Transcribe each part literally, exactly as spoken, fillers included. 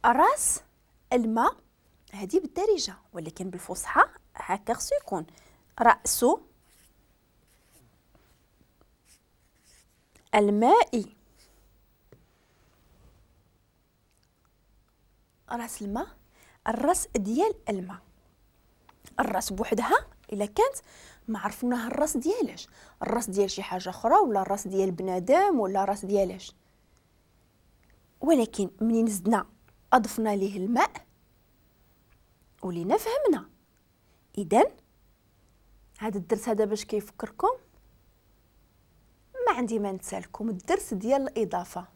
راس الماء هذه بالدارجة، ولكن بالفصحى هكا خصو يكون رأس الماء. راس الماء، الراس ديال الماء. الراس بوحدها الا كانت ما عرفناها الراس ديالاش، الراس ديال شي حاجة اخرى ولا الراس ديال بنادم ولا الراس ديالاش، ولكن منين زدنا اضفنا ليه الماء ولينا فهمنا. اذا هذا الدرس هذا باش كيفكركم، ما عندي ما نتسالكم، الدرس ديال الاضافة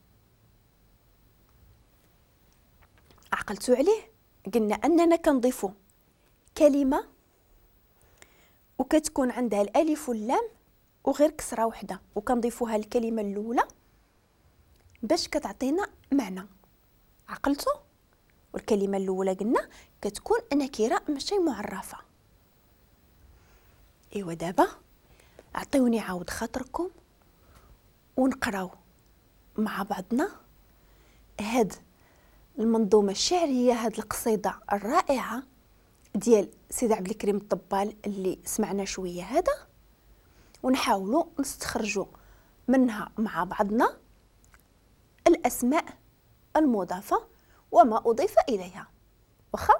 عقلتوا عليه؟ قلنا اننا كنضيفوا كلمة وكتكون عندها الالف واللام وغير كسره وحده، وكنضيفوها الكلمة الاولى باش كتعطينا معنى. عقلتوا؟ والكلمة الاولى قلنا كتكون نكره ماشي معرفة. ايوا دابا عطيوني عاود خاطركم ونقراو مع بعضنا هاد المنظومة الشعرية، هاد القصيدة الرائعة ديال سيدي عبد الكريم الطبال اللي سمعنا شوية هذا، ونحاولوا نستخرجوا منها مع بعضنا الاسماء المضافة وما اضيف اليها. واخا؟